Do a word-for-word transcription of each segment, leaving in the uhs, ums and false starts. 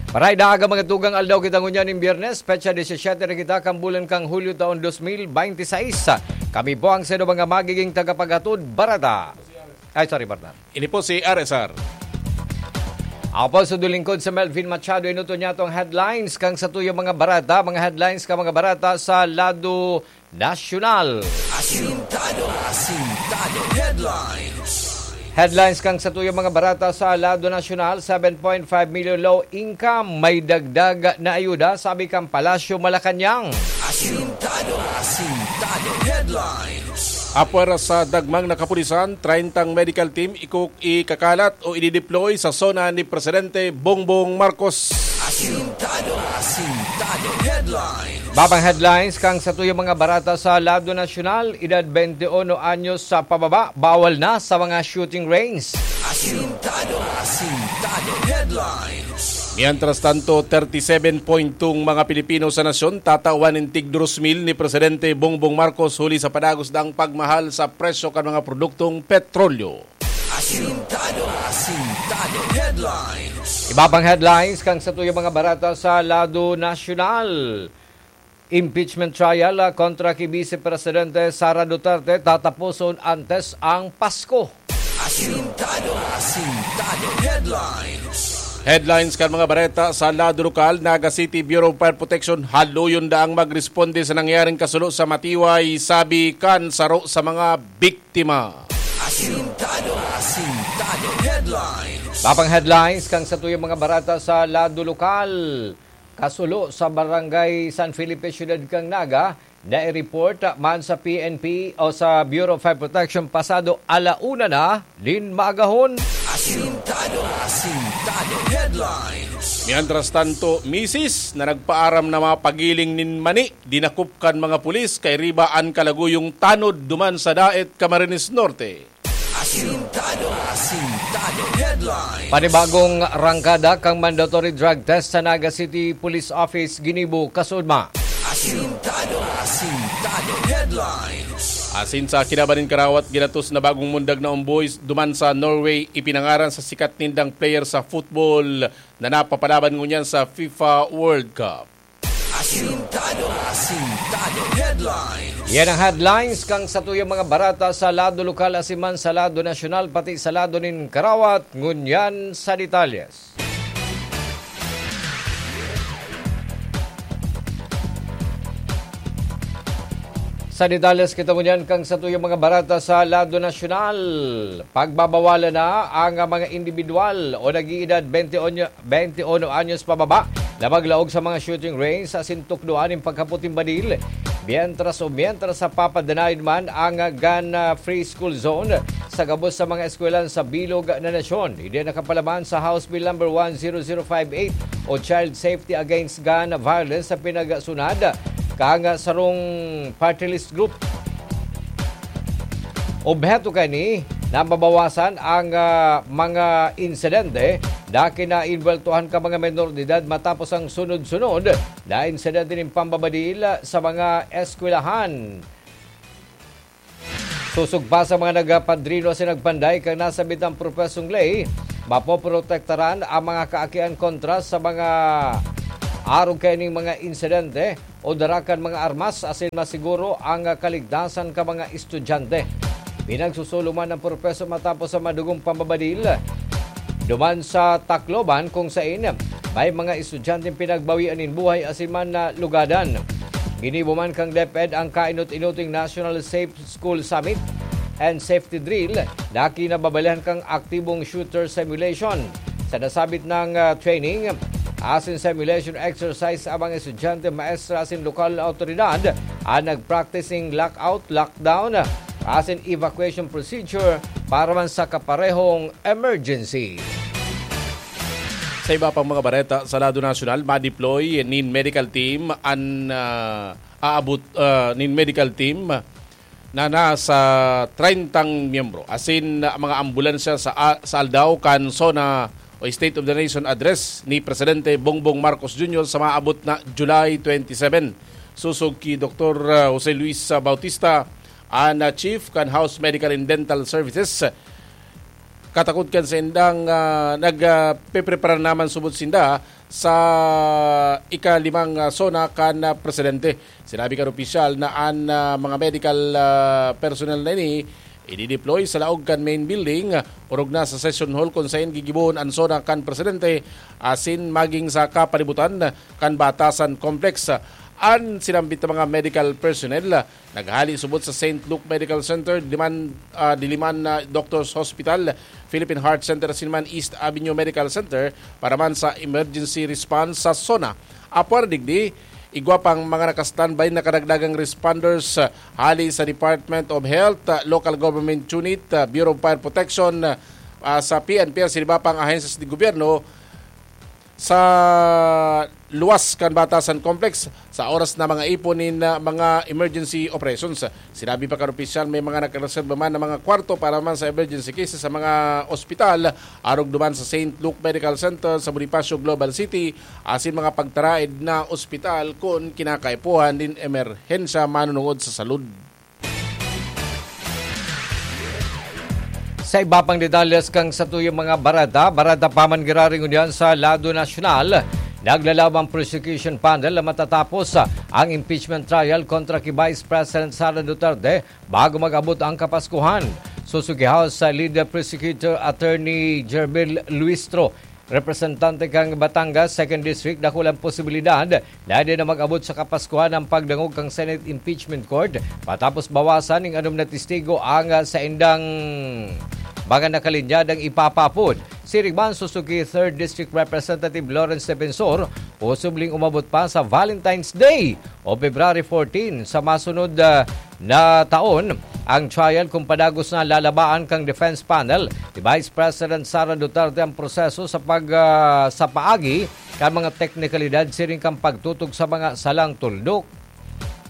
Maray na aga, mga tugang, aldaw kita ngunyan nin Biyernes, petsa disisete na kita kan bulan kan Hulyo taon dos mil bente seis. Kami po ang saindo mga magiging tagapaghatod bareta. Ay, sorry, partner. Ini po si R S R. Ako po, sa lingkod sa Melvin Machado, inuto niya itong headlines kan satuyang mga bareta, mga headlines kan mga bareta sa lado nasyonal. Asintado, asintado, headlines. Headlines kan satuyang mga bareta sa lado nasyonal: seven point five million low income, may dagdag na ayuda, sabi kan Palasyo Malacañang. Asintado, asintado, headlines. Apwera sa dagmang na kapulisan, treintang medical team iko-, ikakalat o idideploy sa SONA ni Presidente Bongbong Marcos. Asintado, asintado, headlines. Babang headlines kan satuyang mga bareta sa lado nasyonal: edad bente uno anyos sa pababa, bawal na sa mga shooting range. Asintado, asintado, headlines. Mientras tanto, thirty-seven point two mga Pilipino sa nasyon tatawan nin tig dos mil ni Presidente Bongbong Marcos huli sa padagos daang pagmahal sa presyo kan mga produktong petrolyo. Asintado, asintado, headlines. Iba pang headlines kan satuyang mga bareta sa lado nasyonal. Impeachment trial, ah, kontra ki Vice Presidente Sara Duterte tataposon antes ang Pasko. Asintado, asintado, headlines. Headlines kan mga bareta sa lado lokal: Naga City Bureau of Fire Protection haluyon daang magresponde sa nangyaring kasulo sa Matiway, sabi kan saro sa mga biktima. Asintado, asintado, headlines. Babang headlines kan satuyang mga bareta sa lado lokal. Kasulo sa Barangay San Felipe, Siyudad kan Naga, na-report man sa P N P o sa Bureau of Fire Protection pasado ala una na nin maagahon. Asintado, asintado, headlines. Mientras tanto, misis na nagpaaram na mapagiling nin mani, dinakop kan mga pulis kairiba an kalaguyong tanod duman sa Daet, Camarines Norte. Asintado, asintado, headlines. Panibagong rangkada kan mandatory drug test sa Naga City Police Office ginibo kasuodma. Asintado, asintado, headlines. Asin sa kinaban nin karawat, ginatos na bagong mundag na omboy duman sa Norway, ipinangaran sa sikat nindang player sa football na napapalaban ngunyan sa FIFA World Cup. Asintado, asintado, headlines. Yan ang headlines kan satuyang mga bareta sa lado lokal asin man sa lado nasyonal, pati sa lado nin karawat. Ngunyan sa detalyes. Sa detalyes kita ngunyan kan satuyang mga bareta sa lado nasyonal. Pagbabawalan na ang mga indibidwal o nag-iidad bente onyo, bente uno anyos pababa na maglaog sa mga shooting range asin tukdoan nin pagkapot nin badil, mientras o mientras sa papadanayon man ang gun, ah, free school zone sa gabos sa mga eskwelahan sa bilog na nasyon. Ini an nakapalaman sa House Bill number one zero zero five eight o Child Safety Against Gun Violence sa pinagsunad kan sarong party list group. Obheto kaini na mabawasan ang, ah, mga insidente na kinainweltohan kan mga menor de edad matapos ang sunod-sunod na insidente nin pambabadil sa mga eskwelahan. Sosog pa sa mga nagpadrino asin nagpanday kan nasabitang propesong ley, mapoprotektaran ang mga kaakian kontra sa mga arog kaining mga insidente o dara kan mga armas asin masiguro ang kaligtasan kan mga estudyante. Pinagsusoloman ang propeso matapos sa madugong pambabadil duman sa Tacloban, kung sain may mga estudyanteng pinagbawian nin buhay asin man nalugadan. Ginibo man kan DepEd ang kainot-inoting National Safe School Summit and Safety Drill na kinababalihan kan aktibong shooter simulation. Sa nasabit na, ah, training asin simulation exercise, ang mga estudyante, maestra asin lokal na awtoridad an nag-practice nin lockout, lockdown asin evacuation procedure para man sa kaparehong emergency. Sa iba pang mga bareta sa lado nasyonal, ma-deploy nin medical team an, ah, aabot, ah, nin medical team na nasa treintang miyembro, asin mga ambulansya sa, a-, sa aldaw kan SONA o State of the Nation Address ni Presidente Bongbong Marcos Junior sa maabot na July twenty-seven. Sosog ki Doktor, ah, Jose Luis, ah, Bautista, an, ah, Chief kan House Medical and Dental Services, Katakod kan saindang, ah, nag, ah, peprepara naman subot sinda sa ikalimang, ah, SONA kan, ah, presidente. Sinabi kan opisyal na an, ah, mga medical, ah, personnel na ini idideploy sa laog kan main building, orog na sa session hall kun saen gigibohon an SONA kan presidente, asin maging sa kapalibutan kan Batasan Complex. An sinambit na mga medical personnel naghali subot sa Saint Luke Medical Center, Diliman, ah, Diliman, ah, Doctors Hospital, Philippine Heart Center, asin man East Avenue Medical Center para man sa emergency response sa SONA. Apwera digdi, igwa pang mga naka-standby na kadagdagang responders, ah, hali sa Department of Health, ah, Local Government Unit, ah, Bureau of Fire Protection, ah, sa P N P, asin iba pang ahensya sa gobyerno sa luwas kan Batasan Complex sa oras na mga ipon nin, ah, mga emergency operations. Sinabi pa kan opisyal, may mga nakareserba man na mga kwarto para man sa emergency cases sa mga ospital, arog duman sa Saint Luke Medical Center sa Bonifacio Global City, asin mga pagtaraed na ospital kun kinakaipuhan nin emerhensya manunungod sa salud. Sa iba pang detalles kan satuyang mga bareta, bareta pa man giraray ngunyan sa lado nasyonal, naglalaom ang prosecution panel na matatapos ang impeachment trial kontra ki Vice President Sara Duterte bago mag-abot ang Kapaskuhan. Susugi House Leader Prosecutor Attorney Gerbil Luistro, representante kan Batangas Second District, dakulang posibilidad na di na mag-abot sa Kapaskuhan ang pagdangog kan Senate Impeachment Court matapos bawasan nin anom na testigo ang, ah, saindang mga nakalinyadang ipapapod. Siring man, susugi Third District Representative Lawrence Defensor, posibleng umabot pa sa Valentine's Day o February fourteen sa masunod, ah, na taon ang trial kun padagos na lalabaan kan defense panel ni Vice President Sara Duterte ang proseso sa pag, ah, sa paagi kan mga teknikalidad siring kan pagtutok sa mga salang tuldok,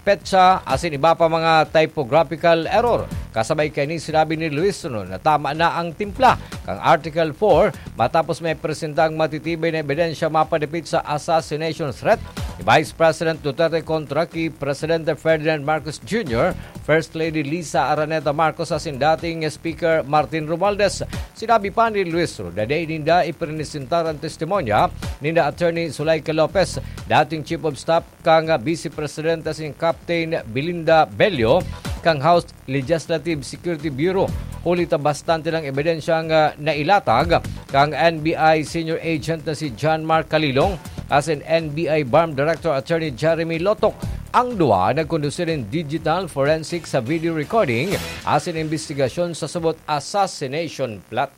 petsa, asin iba pa mga typographical error. Kasabay kaini, sinabi ni Luis Ron na tama na ang timpla kan Article four matapos may presenta ang matitibay na ebidensya mapadapit sa assassination threat ni Vice President Duterte kontra ki Presidente Ferdinand Marcos Junior, First Lady Liza Araneta Marcos asin dating Speaker Martin Romualdez. Sinabi pa ni Luis Ron na dai ninda ipresentar ang testimonya ninda Attorney Zuleika Lopez, dating Chief of Staff kan Vice Presidente asin Captain Belinda Bello kan House Legislative Security Bureau, huli ta bastante nang ebidensyang, ah, nailatag kan N B I Senior Agent na si John Mark Calilong asin N B I BARMM Director Attorney Jeremy Lotok. Ang duwa nagkondusir nin digital forensic sa video recording asin imbestigasyon sa subot assassination plot.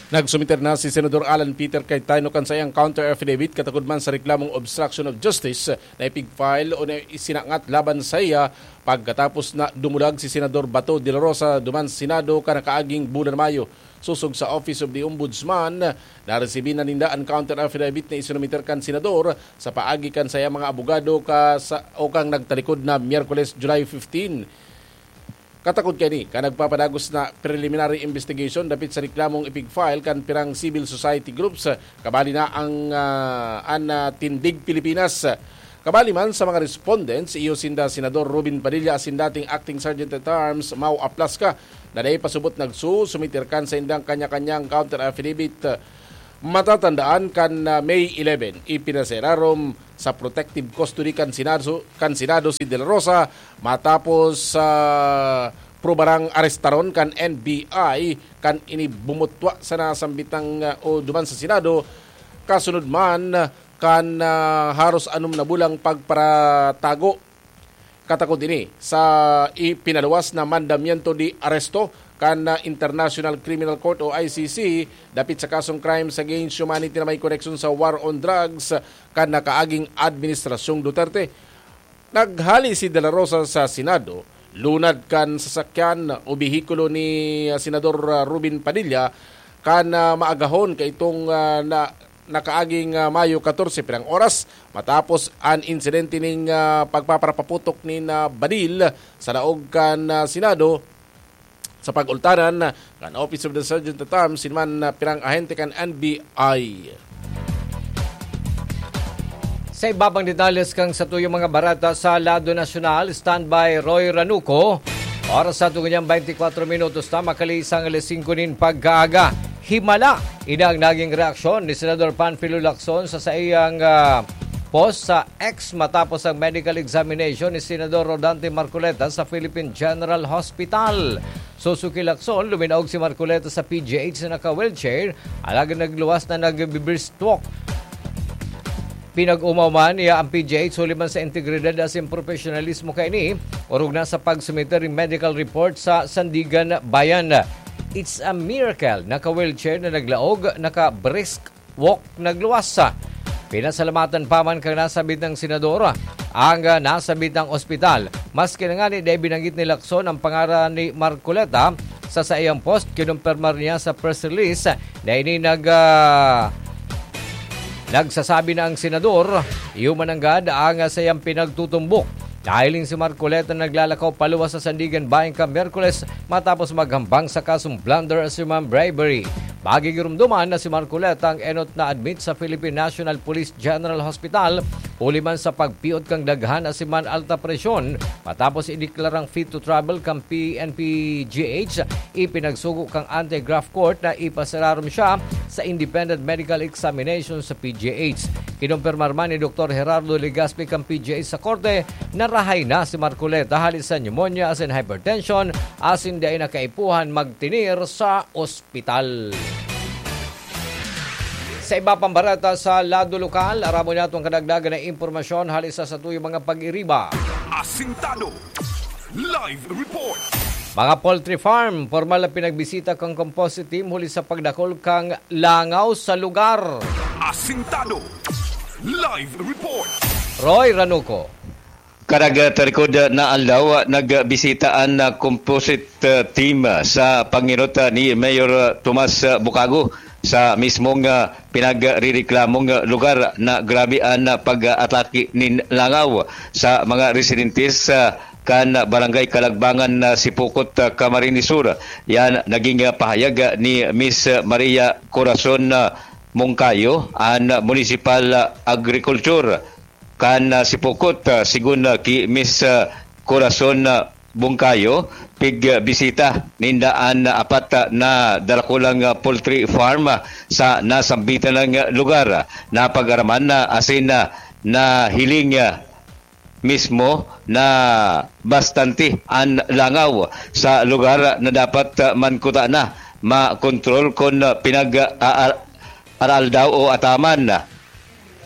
Nagsumiter na si Senador Alan Peter Cayetano kan saiyang counter affidavit katakod man sa reklamong obstruction of justice na ipig-file o na isinangat laban saiya pagkatapos na dumulag si Senador Bato de la Rosa duman sa Senado kan nakaaging bulan Mayo. Sosog sa Office of the Ombudsman, naresibi na ninda an counter affidavit na isinumiter kan Senador sa paagi kan saiyang mga abogado ka sa, o kan nagtalikod na Miyerkules, July fifteen. Katakod kaini, kan nagpapadagos na preliminary investigation dapit sa reklamong ipig-file kan pirang civil society groups, kabali na ang, ah, an, ah, Tindig Pilipinas. Kabali man sa mga respondents, iyo sinda Senador Robin Padilla asin dating Acting Sergeant at Arms Mau Aplasca, na dai pa subot nagsusumiter kan saindang kanya-kanyang counter affidavit. Matatandaan kan, ah, May eleven, ipinaserarom sa protective custody kan Senado, kan Senado si De La Rosa matapos sa prubarang arestaron kan N B I kan ini bumutwa sa nasambitang, ah, o duman sa Senado, kasunod man kan, ah, haros anom na bulang pagparatago. Katakod ini sa ipinaluwas na mandamiento de aresto kan, ah, International Criminal Court o I C C dapit sa kasong crimes against humanity na may koneksyon sa war on drugs kan nakaaging Administrasyong Duterte. Naghali si De La Rosa sa Senado, lunad kan sasakyan o behikulo ni, ah, Senador, ah, Robin Padilla kan, ah, maagahon kaitong, ah, na, nakaaging, ah, Mayo katorse, pirang oras matapos an insidente ning, ah, pagpaparapaputok nin, ah, badil sa laog kan, ah, Senado. Sa pag-ultanan kan Office of the Sergeant at Arms, sinuman na pirang ahente kan N B I. Sa iba pang detalles kan satuyang mga bareta sa lado nasyonal, standby Roy Ranuco. Oras sa tungo niyang twenty-four minutos na, makalisang alas singko nin pagkaaga. Himala, ini ang naging reaksyon ni Senador Panfilo Lacson sa saiyang, ah, post sa X matapos ang medical examination ni Senador Rodante Marcoleta sa Philippine General Hospital. Susuki Lacson, luminaog si Marcoleta sa P G H na naka-wheelchair, alagad nagluwas na nag-brisk walk. Pinag-umaw man niya ang P G H huli man sa integridad asin profesionalismo kaini, orog na sa pagsumiter nin medical report sa Sandigan Bayan. It's a miracle. Naka-wheelchair na naglaog, naka-brisk walk nagluwas. Pinasalamatan pa man kan nasabit na senador ang, ah, nasabit na ospital. Maski na ngani dai binanggit ni Lacson ang pangaran ni Marcoleta sa saiyang post, kinumpirmar niya sa press release na ini nag, ah, nagsasabi na ang senador, iyo man nanggad ang, ah, saiyang pinagtutumbok. Nahiling si Marcoleta na naglalakaw paluwas sa Sandigan Bayan kan Miyerkules matapos maghambang sa kasong blunder asin man bribery. Magigiromdoman na si Marcoleta ang enot na admit sa Philippine National Police General Hospital, huli man sa pagpiot kan daghan asin man alta presyon. Matapos ideklarang fit to travel kan P N P G H, ipinagsugo kan anti-graft court na ipasirarom siya sa independent medical examination sa P G H. Kinumpirmar man ni Doktor Gerardo Legaspi kan P G H sa korte na rahay na si Marcoleta hali sa pneumonia asin hypertension, asin dai na kaipuhan magtener sa ospital. Sa iba pang bareta sa lado lokal, aramon nato an kadagdagan na impormasyon hali sa satuyang mga pag-iriba. Asintado Live Report. Mga poultry farm, pormal na pinagbisita kan composite team huli sa pagdakul kan langaw sa lugar. Asintado Live Report. Roy Ranuco. Karag tarikod na aldaw, nagbisita an, ah, composite, ah, team, ah, sa pangenot, ah, ni Mayor, ah, Tomas, ah, Bucago sa mismong, ah, pinagrereklamong, ah, lugar na grabe an, ah, pag-atake nin langaw sa mga residentes, ah, kan Barangay Kalagbangan, ah, Sipocot, ah, Camarines Sur. Yan naging, ah, pahayag, ah, ni Miss Maria Corazon, ah, Moncayo, an Municipal, ah, Agriculture kan, ah, Sipocot, ah, sigon, ah, ki Miss, ah, Corazon, ah, Bungkayo, pig, ah, bisita ninda an, ah, apat, ah, na darakulang, ah, poultry farm, ah, sa nasambitan na, ah, lugar. Napag-araman na asin, ah, nahiling, ah, mismo na bastante an langaw sa lugar na dapat, ah, man kuta na makontrol kun, ah, pinag, ah, ar-, araaldaw o ataman.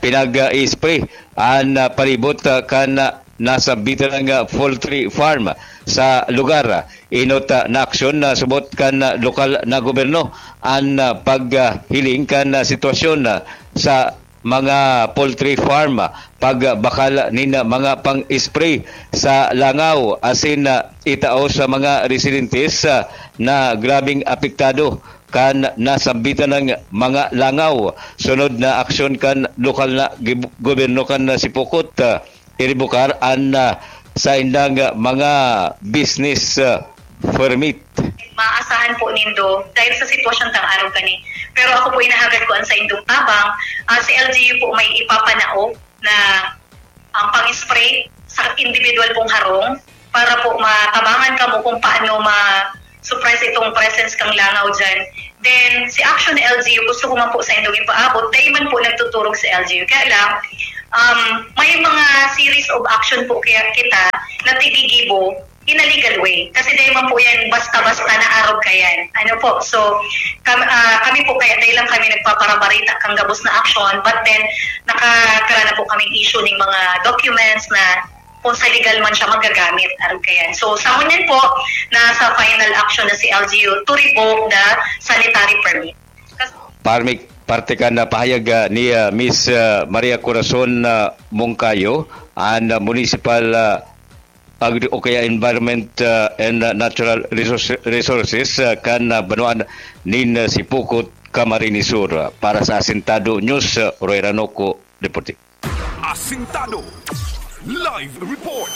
Pinag-i-spray an, ah, palibot, ah, kan, ah, nasambitan na poultry farm sa lugar. Enot, ah, na aksyon na subot kan, ah, lokal na gobyerno an, ah, paghiling kan, ah, sitwasyon, ah, sa mga poultry farm, ah, pagbakal nin, ah, mga pang-spray sa langaw asin, ah, itao sa mga residentes, ah, na grabeng apektado kan nasambitan na mga langaw. Sunod na aksyon kan lokal na gib-, gobyerno kan Sipocot, ah, iribukar an, ah, saindang mga business, ah, permit. Maasahan po nindo dahil sa sitwasyon tang araw kani. Pero ako po, inahagad ko an saindong tabang, ah, si L G U po may ipapanao na ang pang-spray sa individual pong harong para po matabangan kamo kung paano ma-suppress itong presence kang langaw dyan. Then, si Action L G U, gusto ko man po sa indong ipaabot, dahil man po nagtuturog sa L G U. Kaya lang, um, may mga series of action po kaya kita na tigigibo in a legal way. Kasi dahil man po yan, basta-basta na arog ka yan. Ano po? So, kam, ah, kami po kaya dahil lang kami nagpaparabarita kang gabos na action, but then, nakakara na po kaming issue ng mga documents na kung sa legal man siya magagamit, arog ka yan. So, sa ngunyan po, nasa final action na si L G U to revoke the sanitary permit. Kas- Parmik, parte kan, ah, pahayag, ah, ni, ah, Miss, ah, Maria Corazon, ah, Moncayo, an, ah, municipal, ah, agri-, o kaya environment, ah, and, ah, natural resource-, resources, ah, kan, ah, banwaan nin, ah, Sipocot, Camarines Sur. Para sa Asintado News, ah, Roy Ranoco, reporting. Asintado Live Report.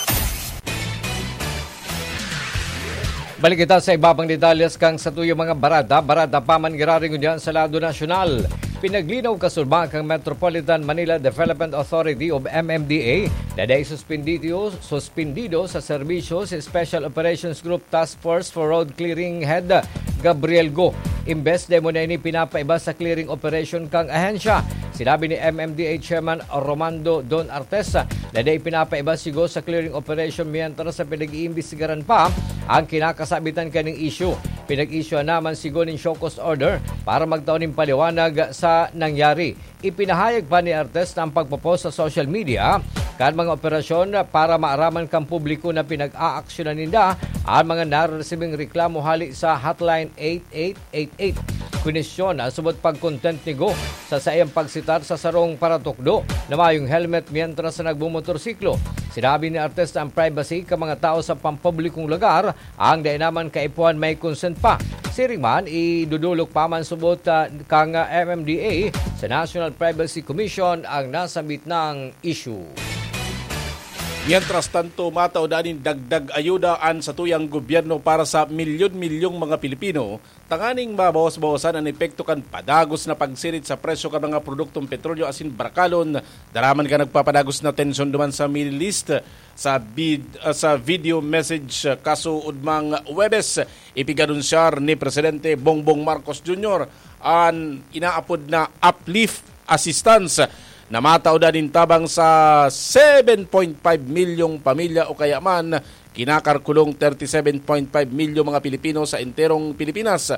Balik kita sa iba pang detalles kan satuyang mga barada. Barada pa man giraray ngunyan sa lado nasyonal. Pinaglinaw kasurba kan Metropolitan Manila Development Authority o M M D A na dai suspendido, suspendido sa serbisyo si Special Operations Group Task Force for Road Clearing Head Gabriel Go. Imbes dai mo na ini pinapaiba sa clearing operation kan ahensya. Sinabi ni M M D A Chairman Romando Don Artes na dai pinapaiba si Go sa clearing operation mientras sa pinag-iimbestigaran pa ang kinakasabitan kaning issue. Pinag-issue naman si Go nin show cause order para magtao nin paliwanag sa nangyari. Ipinahayag pa ni Artes na ang pagpo-post sa social media kan mga operasyon para maaraman kan publiko na pinag-aaksyonan ninda ang mga nareresibing reklamo hali sa Hotline eight eight eight eight. Kwestiyon na subot pag-content ni Go sa saiyang pagsitar sa sarong paratukdo na mayong helmet mientras na nagmumotorsiklo. Sinabi ni Artes na ang privacy kan mga tao sa pampublikong lugar ang dai naman kaipuhan may consent pa. Siring man, idudulok pa man subot, ah, kan, ah, M M D A sa National Privacy Commission ang nasambit na issue. Mientras tanto, matao nin dagdag ayuda an satuyang gobyerno para sa milyon-milyong mga Pilipino, tanganing mabawas-bawasan an epekto kan padagos na pagsirit sa presyo kan mga produktong petrolyo asin barkalon, daraman kan nagpapadagos na tensyon duman sa Middle East. Sa vid-, ah, sa video message, ah, kasuodmang Huwebes, ipig-anunsyar ni Presidente Bongbong Marcos Junior an inaapod na uplift assistance na matao nin tabang sa seven point five milyong pamilya o kaya man kinakalkulong thirty-seven point five milyong mga Pilipino sa enterong Pilipinas.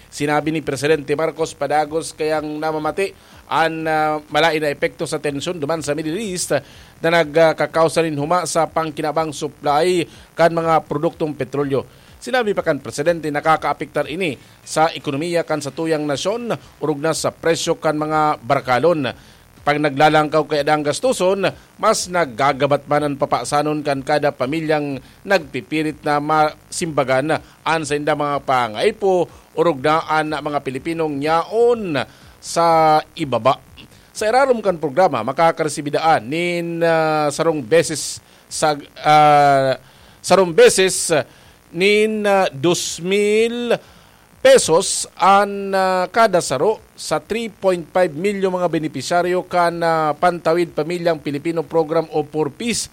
Sinabi ni Presidente Marcos, padagos kayang namamati an, ah, malaen na epekto sa tensyon duman sa Middle East na nagkakausa nin huma sa pangkinabang supply kan mga produktong petrolyo. Sinabi pa kan presidente, nakakaapektar ini sa ekonomiya kan satuyang nasyon, orog na sa presyo kan mga barkalon. Pag naglalangkaw kaya ang gastuson, mas nagagabat man an papasanon kan kada pamilyang nagpipirit na masimbagan an saindang mga pangaipo, orog na an mga Pilipinong yaon sa ibaba. Sa irarom kan programa, makakaresibidaan nin, ah, sarong beses sa, ah, sarong beses nin, ah, dos mil pesos an, ah, kada saro sa three point five milyon mga benepisyaryo kan, ah, Pantawid Pamilyang Pilipino Program o four Ps.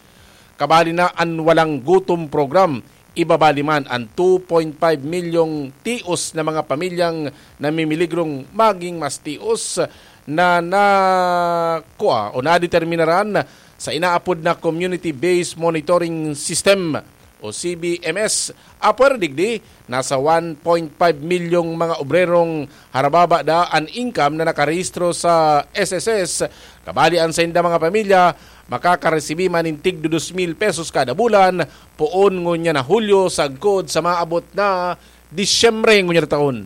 Kabali na an Walang Gutom Program. Ibabali man an two point five milyong tios na mga pamilyang namimiligrong maging mas tios na nakua o nadeterminaran sa inaapod na Community-Based Monitoring System o C B M S. Apwera digdi, nasa one point five milyong mga obrerong harababa da an income na nakarehistro sa S S S. Kabali an sainda mga pamilya, makakaresibi man nin tig dos mil pesos kada bulan, poon ngunyan na Hulyo sagkod sa maabot na Disyembre ngunyan na taon.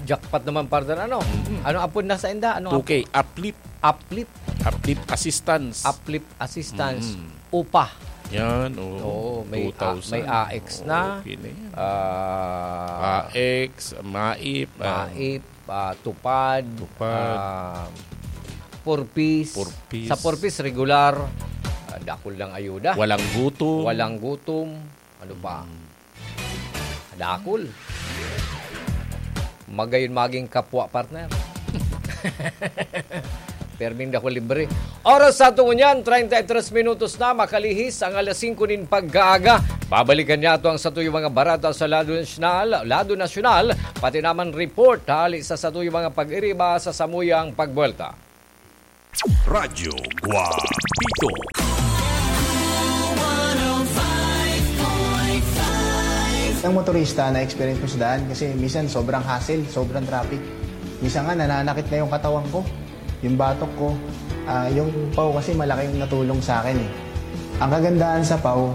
Jackpot naman, partner. Ano? Mm. Ano apod na sainda? Ano two K, uplift. Uplift. Uplift assistance. Uplift assistance. Mm. Upa. Yan, oo. Oo, may a-, two thousand. May A X na. Oo, okay na yan. Ah, A X, MAIP, ah, MAIP, ah, TUPAD, TUPAD. Ah, four Ps. Four Ps. Sa four Ps, regular, ah, dakul lang ayuda. Walang gutom. Walang gutom. Ano pa? Mm. Dakul. Magayon maging kapwa, partner. Perming dakul libre. Oras sa aton ngunyan, treinta y tres minutos na, makalihis ang alas singko nin pagkaaga. Babalikan niyato ang satuyang mga bareta sa lado nasyonal, lado nasyonal, pati naman report hali sa satuyang mga pag-iriba sa samuyang pagbuwelta. Radyo Guapito. Ang motorista na experience ko sa daan kasi minsan sobrang hassle, sobrang traffic. Minsan nga nananakit na yung katawan ko, yung batok ko, ah, yung paw kasi malaking natulong sa akin eh. Ang kagandahan sa paw,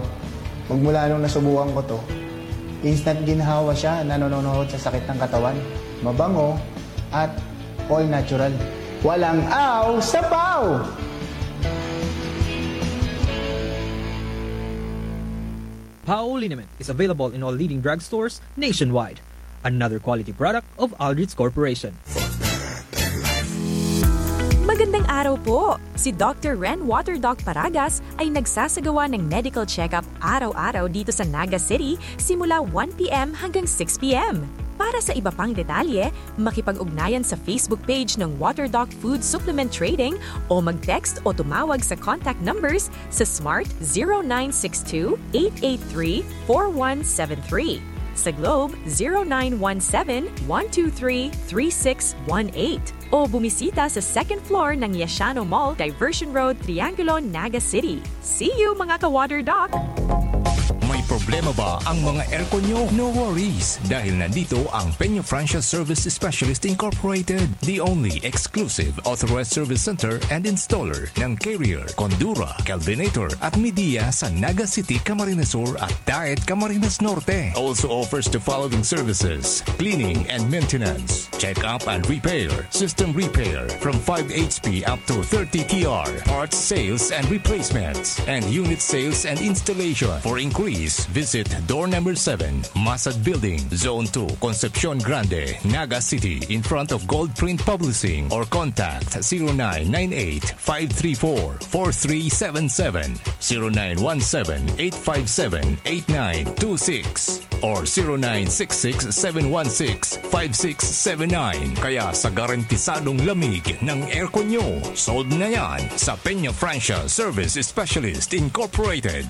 magmula nung nasubukan ko to, instant ginhawa siya, nanononohod sa sakit ng katawan. Mabango at all natural. Walang aw sa paw! Pao liniment is available in all leading drugstores nationwide. Another quality product of Aldrich Corporation. Magandang araw po! Si Doctor Ren Water Doc Paragas ay nagsasagawa ng medical check-up araw-araw dito sa Naga City simula one P M hanggang six P M. Para sa iba pang detalye, makipag-ugnayan sa Facebook page ng Water Doc Food Supplement Trading o mag-text o tumawag sa contact numbers sa Smart zero nine six two, eight eight three, four one seven three, sa Globe zero nine one seven, one two three, three six one eight, o bumisita sa second floor ng Yashano Mall, Diversion Road, Triangulo, Naga City. See you, mga ka-Water Doc! May problema ba ang mga aircon nyo? No worries, dahil nandito ang Peña Francia Service Specialist Incorporated, the only exclusive authorized service center and installer ng Carrier, Condura, Kelvinator at Midea sa Naga City, Camarines Sur at Daet, Camarines Norte. Also offers the following services: cleaning and maintenance, check-up and repair, system repair from five H P up to thirty T R, parts sales and replacements, and unit sales and installation. For inquiries, visit door number seven, Masad Building, Zone two, Concepcion Grande, Naga City, in front of Gold Print Publishing, or contact zero nine nine eight, five three four, four three seven seven, zero nine one seven, eight five seven, eight nine two six or zero nine six six, seven one six, five six seven nine. Kaya sa garantisadong lamig ng aircon nyo, sold na yan sa Peña Francia Service Specialist Incorporated.